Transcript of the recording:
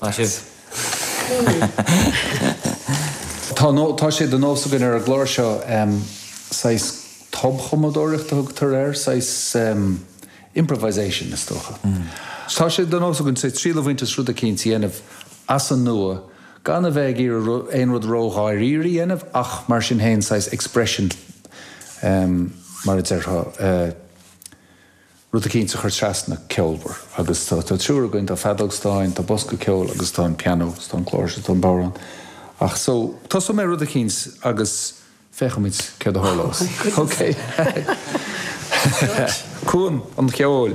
Maith sibh. Tá tá sé de nós againn ar an gclár seo saghas tobchumadóireacht a thugtar air, saghas improvisation is dócha. Tá sé de nós againn saghas triail a bhaint as rud eicínt a dhéanamh as an nua gan a bheith ag iarraidh aon rud ró-dháiríre a dhéanamh ach mar sin féin saghas expression mar a déarfá. rud eicínt a chur trasna ceolmhar agus tá triúr againn, tá feadóg stáin, tá bosca ceoil agus tá an pianó agus tá an cláirseach, tá an bodhrán. Ach so, tosóidh mé rud eicínt agus féachfaimid céard a tharlós. Ok. Cuan an cheoil.